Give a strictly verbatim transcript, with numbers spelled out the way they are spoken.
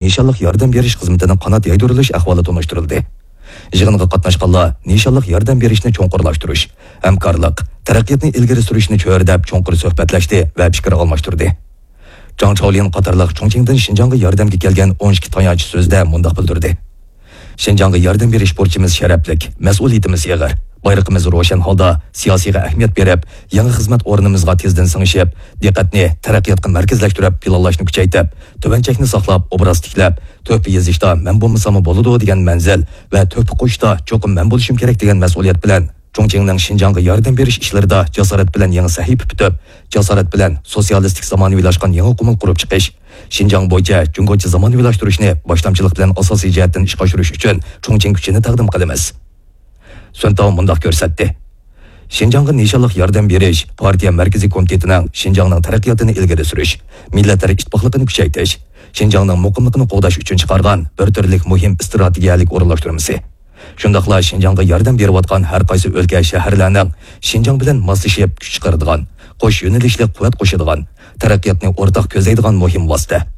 نىشانلىق ياردەم بېرىش خىزمىتىنىڭ قانات يايدۇرۇلۇش ئەھۋالى تونۇشتۇرۇلدى. يىغىنغا قاتناشقانلار نىشانلىق ياردەم بېرىشنى چوڭقۇرلاشتۇرۇش، ھەمكارلىق، تەرەققىياتنى ئىلگىرى سۈرۈشنى چۆرىدەپ چوڭقۇر سۆھبەتلەشتى ۋە پىكىر ئالماشتۇردى. جاڭ چاۋلىن قاتارلىق چۇڭچىڭدىن شىنجاڭغا ياردەمگە كەلگەن ئون ئىككى تايانچ سۆزىدە مۇنداق بىلدۈردى: شىنجاڭغا ياردەم بېرىش بۇرچىمىز شەرەپلىك، مەسئۇلىيىتىمىز ئېغىر. بايرىقىمىز روشەن ھالدا سىياسىيغا ئەھمىيەت بېرىپ، يېڭى خىزمەت ئورنىمىزغا تېزدىن سىڭىشىپ، دىققەتنى تەرەققىياتقا مەركەزلەشتۈرۈپ، پىلانلاشنى كۈچەيتىپ، تۆۋەن چەكنى ساقلاپ، ئوبراز تىكلەپ، تۆھپە يېزىشتا مەن بولمىساممۇ بولىدۇ دېگەن مەنزىل ۋە تۆھپە قوشۇشتا چوقۇم مەن بولۇشۇم كېرەك دېگەن مەسئۇلىيەت بىلەن، چۇڭچىڭنىڭ شىنجاڭغا ياردەم بېرىش ئىشلىرىدا جاسارەت بىلەن يېڭى سەھىپە پۈتۈپ، جاسارەت بىلەن سوتسىيالىستىك زامانىۋىلاشقان يېڭى قۇمۇل قۇرۇپ چىقىش، شىنجاڭ بويىچە جۇڭگوچە زامانىۋىلاشتۇرۇشنى باشلامچىلىق بىلەن ئاساسىي جەھەتتىن ئىشقا ئاشۇرۇش ئۈچۈن چۇڭچىڭ كۈچىنى تەقدىم قىلىمىز. سۈنتاۋ مۇنداق كۆرسەتتى: شىنجاڭغا نىشانلىق ياردەم بېرىش پارتىيە مەركىزىي كومىتېتىنىڭ شىنجاڭنىڭ تەرەققىياتىنى ئىلگىرى سۈرۈش، مىللەتلەر ئىتتىپاقلىقىنى كۈچەيتىش، شىنجاڭنىڭ مۇقىملىقىنى قوغداش ئۈچۈن چىقارغان بىر تۈرلۈك مۇھىم ئىستراتېگىيەلىك ئورۇنلاشتۇرمىسى. شۇنداقلا شىنجاڭغا ياردەم بېرىۋاتقان ھەر قايسى ئۆلكە، شەھەرلەرنىڭ شىنجاڭ بىلەن ماسلىشىپ كۈچ چىقىرىدىغان، قوش يۆنىلىشلىك قۇۋۋەت قوشىدىغان، تەرەققىياتنى ئورتاق كۆزلەيدىغان مۇھىم ۋاسىتە.